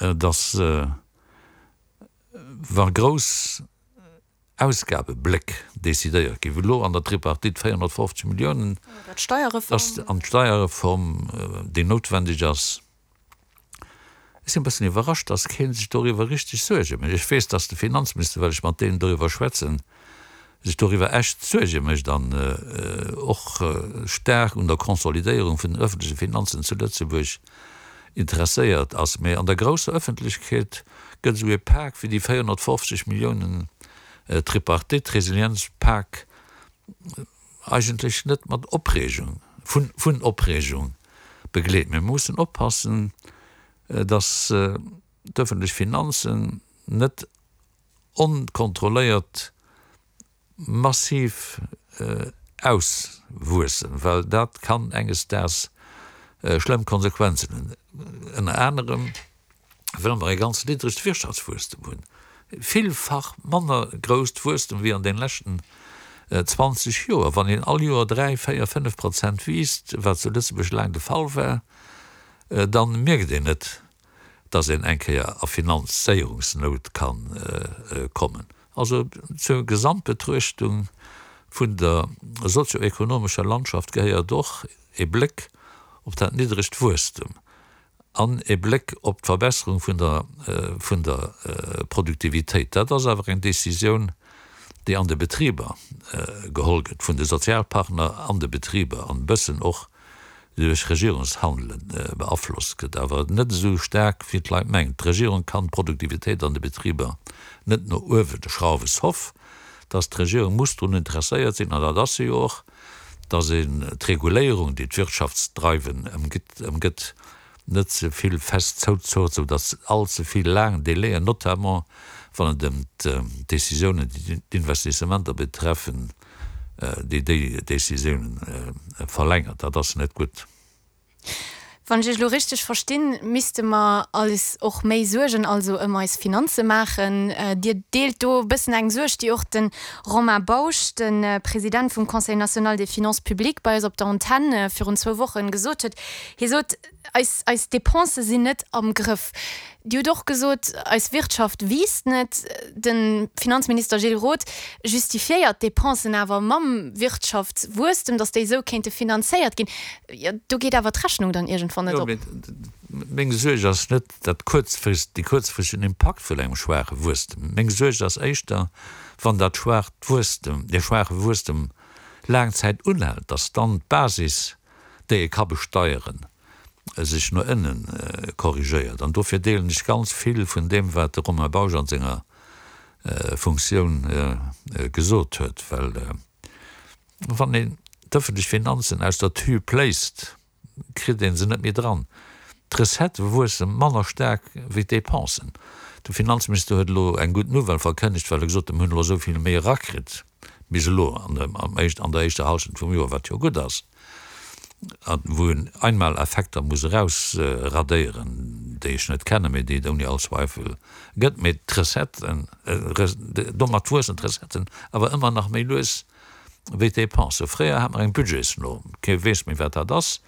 datt wa grouss Ausgabebléck decidéiert ginn, wéi elo an der Tripartite 450 Milliounen, an d'Steierreform, déi noutwendeg ass. Ech sinn e bëssen iwwerrascht, datt kee sech doriwwer richteg Suerge mécht. Ech weess, datt de Finanzminister, well ech mat deem doriwwer schwätzen, sech doriwwer echt Suerge mécht an och staark un der Konsolidéierung vun den öffentleche Finanzen zu Lëtzebuerg interesséiert ass. Mee an der grousser Ëffentlechkeet gëtt esou ee Pak wéi déi 450 Milliounen Tripartite, Resilienzpak, eigentlech net mat Opreegung, vun Opreegung begleet. Mee mir mussen oppassen, datt d'ëffentlech Finanzen net onkontrolléiert massiv auswuessen, well dat kann enges Daags schlëmm Konsequenzen hunn, ënner anerem well mer e ganz niddregt Wirtschaftswuesstem hunn, villfach manner grousst Wuesstem wéi an den leschten 20 Joer. Wann een all Joer 3, 4, 5 Prozent wiisst, wat zu Lëtzebuerg laang de Fall war, dann mierkt een net, dass een eng Kéier a Finanzéierungsnout kann kommen. Also zur Gesamtbetruechtung vun der sozioekonomescher Landschaft gehéiert och e Bléck op dat niddregt Wuesstem an e Bléck op d'Verbesserung vun der vun der Produktivitéit. Dat ass awer eng Décisioun, déi an de Betriber geholl gëtt, vun de Sozialpartner an de Betriber an e bëssen och duerch Regierungshandele beaflosst gëtt, awer net esou staark wéi d'Leit mengen. D'Regierung kann d'Produktivitéit an de Betriber net no uewe schrauwen, sauf datt d'Regierung muss drun interesséiert sinn, an dat ass se jo och, datt een d'Reguléierung, déi d'Wirtschaftsdreiwen ëmgëtt, net ze vill fest zouzurrt, sou datt all ze vill laang Délaiën, notamment wann et ëm d'Décisiounen, déi d'Investissementer betreffen, déi déi Décisiounen verlängert. Dat ass net gutt. Wann ech Iech elo richteg verstinn, misste mer eis och méi Suergen also ëm eis Finanze maachen. Dir deelt do e bëssen eng Suerg, déi och de Romain Bausch, de President vum Conseil national des finances publiques, bei eis op der Antenn virun zwou Wochen gesot huet. Hie sot, Eis, eis Depensë sinn net am Grëff. Dir hutt och gesot, eis Wirtschaft wiisst net. De Finanzminister Gilles Roth justifiéiert d'Depensen awer mam Wirtschaftswuesstem, datt déi esou kéinte finanzéiert ginn. Jo, do geet awer d'Rechnung dann iergendwann net op. Jo, mee meng Suerg ass net dat kuerzfrist, dee kuerzfristegen Impakt vun engem schwaache Wuesstem. Meng Suerg ass éischter, wann dat schwaacht Wuesstem, dee schwaache Wuesstem laang Zäit unhält, datt dann d'Basis, déi ee ka besteieren, sech no ënne korrigéiert. An dofir deelen ech ganz vill vun deem, wat de Romain Bausch an senger Funktioun gesot huet. Well wann een d'ëffentlech Finanzen aus der Tü pléist, kritt ee se net méi dran. D'Recettë wuesse manner staark wéi d'Depensen. De Finanzminister huet elo eng gutt Nouvelle verkënnegt, well e gesot huet, mir hunn elo esou vill méi erakritt bis elo an der éischter Hallschent vum Joer, wat jo gutt ass, a wou een Einmaleffekter muss erausradéieren, déi ech net kennen, mee déi et ouni all Zweifel gëtt. Mee d'Recetten, domat wuessen d'Recetten awer ëmmer nach méi lues wéi d'Dépensen. Fréier hat mer eng Budgetsnorm, kee weess méi wat dat ass.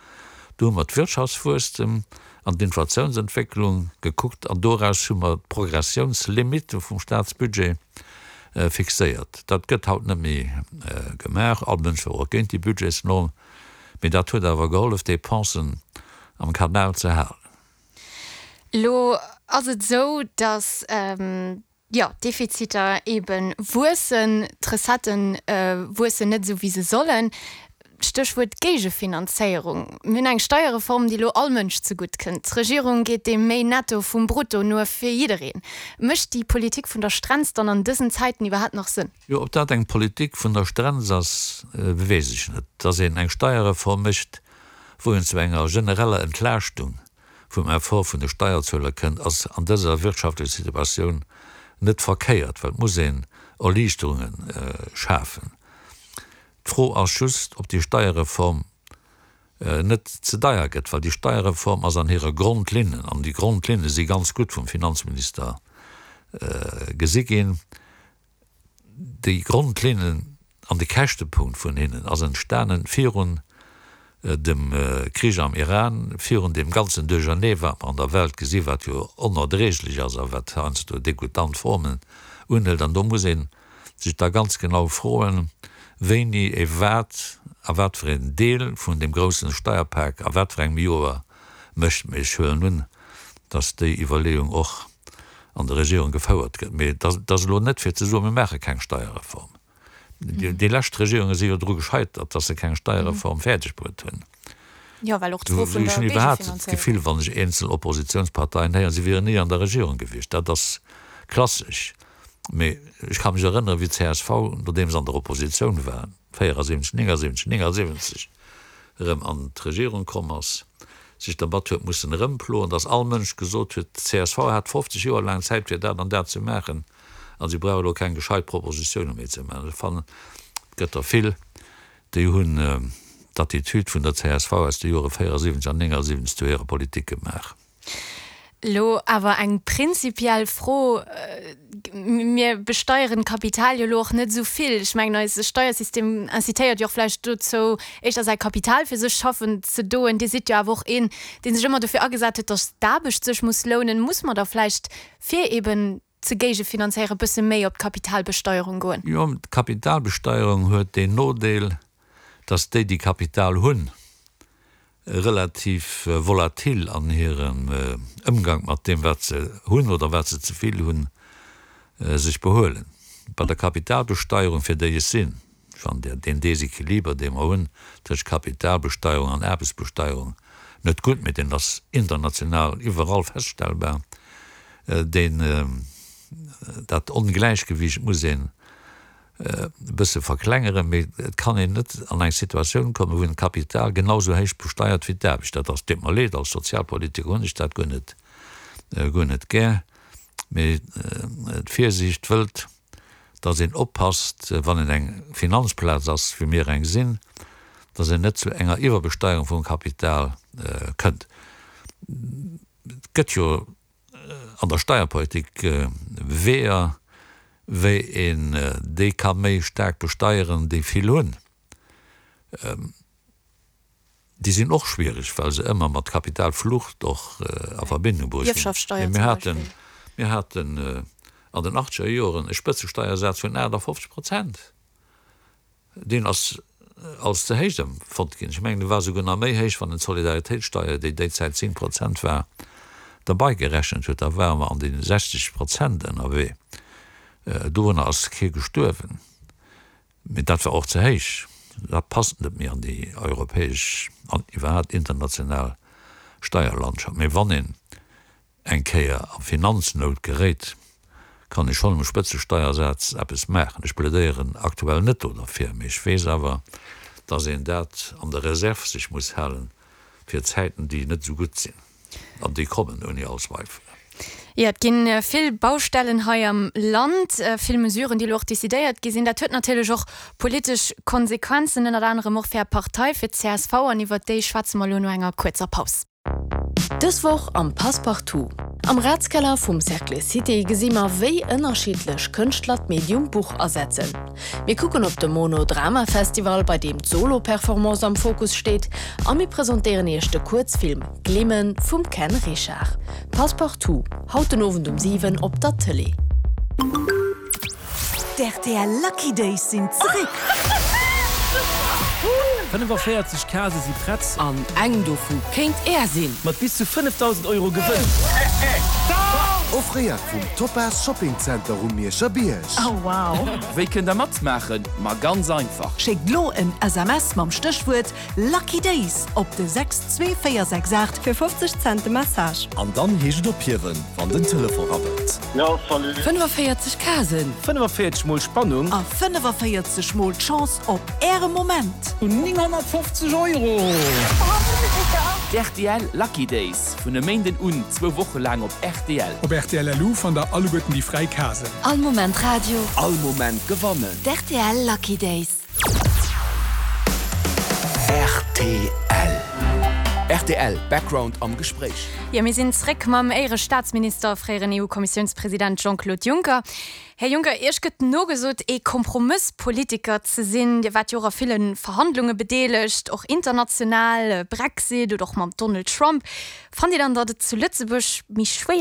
Do hu mer d'Wirtschaftswuesstem an d'Inflatiounsentwécklung gekuckt an doraus hu mer d'Progressiounslimite vum Staatsbudget fixéiert. Dat gëtt haut net méi gemaach. All Mënsch war och géint déi Budgetsnorm, mee dat huet awer gehollef, d'Dépensen am Kanal ze halen. Elo ass et esou, datt Jo, d'Defiziter eebe wuessen, d'Recettë wuessen net esou wéi se sollen. Stéchwuert Géigefinanzéierung. Mir hunn eng Steierreform, déi elo all Mënsch zegutt kënnt. D'Regierung geet deem méi Netto vum Brutto no fir jiddereen. Mécht déi Politik vun der Strenz dann an dësen Zäiten iwwerhaapt nach Sënn? Jo, ob dat eng Politik vun der Strenz ass, weess ech net. Dass een eng Steierreform mécht, wou een zu enger genereller Entlaaschtung vum Effort vun de Steierzueler kënnt, ass an dëser wirtschaftlecher Situatioun net verkéiert, well et muss een Erliichterunge schafen. D'Fro ass just, ob déi Steierreform net ze deier gëtt, well déi Steierreform ass an hire Grondlinnen, an déi Grondlinne si ganz gutt vum Finanzminister gesi ginn, Déi Grondlinnen an de Käschtepunkt vun hinnen ass entstanen virun. Dem Krich am Iran, virun deem ganzen Duerchernee, wat mer an der Welt gesi wat jo onerdréiglech ass a wat heiansdo degoutant Formen unhëlt. An do muss ee sech da ganz genau froen, wéini ee wat a wat fir een Deel vun deem groussen Steierpak a wat fir engem Joer mécht. Mee ech huelen un, datt déi Iwwerleeung och an der Regierung gefouert gëtt. Mee et ass elo net fir ze soen, mir maache keng Steierreform. Déi lescht Regierunge si jo dru gescheitert, datt se keng Steierreform fäerdeg bruet hunn. Jo, well och d'Fro vun der Ech hunn iwwerhaapt d'Gefill, wann ech eenzel Oppositionsparteien héieren, si wieren ni an der Regierung gewiescht. Dat ass klassesch. Mee ech ka mech erënneren, wéi d'CSV, nodeem se an der Oppositioun war, 74, 79, 79, erëm an d'Regierung komm ass, sech dermat huet mussen erëmploen, datt all Mënsch gesot huet, d'CSV hat 50 Joer laang Zäit fir dat an dat ze maachen. A si brauche elo keng gescheit Propositioune méi ze maachen. Ech fannen, et gëtt der vill, déi hunn d'Attitude vun der csv aus de Jore 74 an 79 zu hirer Politik gemaach. Elo awer eng prinzipiell Fro, Mir besteieren d'Kapital jo elo och net esou vill. Ech mengen, eise Steiersystem incitéiert jo och vläicht dozou, éischter säi Kapital fir sech schaffen ze doen. Dir sidd jo awer och een, dee sech ëmmer dofir agesat huet, datt d'Aarbecht sech muss lounen. Muss mer da vläicht, fir eben ze géigefinanzéieren, e bësse méi op d'Kapitalbesteierung goen? Jo, d'Kapitalbesteierung huet deen Nodeel, datt déi, déi Kapital hunn, relativ volatil an hirem Ëmgank mat deem, wat se hunn oder wat se ze vill hunn, sech behuelen. Bei der Kapitalbesteierung, fir déi ech sinn, Ech fannen deen Desequiliber, dee mer hunn tëscht Kapitalbesteierung an Aarbechtsbesteierung net gutt, mee deen ass international iwwerall feststellbar. Deen, dat Ongläichgewicht muss een e bësse verklengeren, mee et kann een net an eng Situatioun kommen, wou een d'Kapital genau esou héich besteiert wéi d'Aarbecht. Dat ass, deet mer leed, als Sozialpolitiker hunn ech dat guer net, guer net gär, mee d'Virsiicht wëllt, dass een oppasst, wann een eng Finanzplaz ass, wéi mir eng sinn, dass een net zu enger Iwwerbesteierung vum Kapital kënnt. Et gëtt jo an der Steierpolitik Weeër, wéi een déi ka méi staark besteieren, déi vill hunn. Déi sinn och schwiereg, well se ëmmer mat Kapitalflucht och a Verbindung bruecht ginn. Mee mir haten, mir haten an den achtzeger Joren e Spëtzesteiersaz vun 58 Prozent. Deen ass als ze héich empfonnt ginn. Ech mengen, e war souguer nach méi héich, wann een d'Solidaritéitssteier, déi déi Zäit 10 Prozent war, derbei gerechent huet. Da ware mer an de 60 Prozent ënnerwee. Dorunner ass kee gestuerwen. Mee dat war och ze héich. Dat passt net méi an déi europäesch an iwwerhaapt international Steierlandschaft. Mee wann een eng Kéier a Finanznout geréit, kann ee schonn um Spëtzesteiersaz eppes maachen. Ech plädéieren aktuell net do derfir, mee ech weess awer, dass een dat an der Reserve sech muss halen fir Zäiten, déi net esou gutt sinn. An déi kommen ouni all Zweifel. Jo, et gi vill Baustellen hei am Land, vill Mesuren, déi elo och decidéiert gi sinn. Dat huet natierlech och politesch Konsequenzen, ënnert anerem och fir Är Partei, fir d'CSV. An iwwert déi schwätze mer elo no enger kuerzer Paus. Dës Woch am Passepartout. Am Ratskeller vum Cercle Cité gesi mer, wéi ënnerschiddlech Kënschtler d'Medium Buch asetzen. Mir kucken op de Monodrama Festival, bei deem d'Solo-Performance am Fokus steet a mir presentéieren iech de Kuerzfilm Glimmen vum Ken Richard. Passepartout, haut den Owend um 7 op der Tëlee. D'RTL Lucky Days sinn zeréck! 45 Case si prett. An eng dovu kéint Är sinn! Mat bis zu 5.000 Euro Gewënn! Offréiert vum Topaz Shopping Center um Mierscher Bierg. Wéi kënnt der matmaachen? Ma ganz einfach! Schéckt lo en SMS mam Stéchwuert Lucky Days op de 62468 fir 50 Cent de Message. An dann heescht et ophiewen, wann den Telefon rabbelt. 45 Casen. 45 mol Spannung. A 45 mol d'Chance op Äre Moment. 950 Euro! D'RTL Lucky Days, vun e Méinden un zwou Woche laang op rtl. Op rtl LU fannt der alleguerten déi fräi Casen. All Moment Radio. All Moment gewannen. D'RTL Lucky Days. Rtl. Rtl Background am Gespréich. Jo, mir sinn zréck mam Éierestaatsminister a fréieren EU-Kommissiounspresident Jean-Claude Juncker. Här Juncker, Iech gëtt nogesot, ee Kompromësspolitiker ze sinn. Dir waart jo och a ville Verhandlunge bedeelegt, och international, Brexit oder och mam Donald Trump. Fannt Dir dann, datt et zu Lëtzebuerg méi schwéier.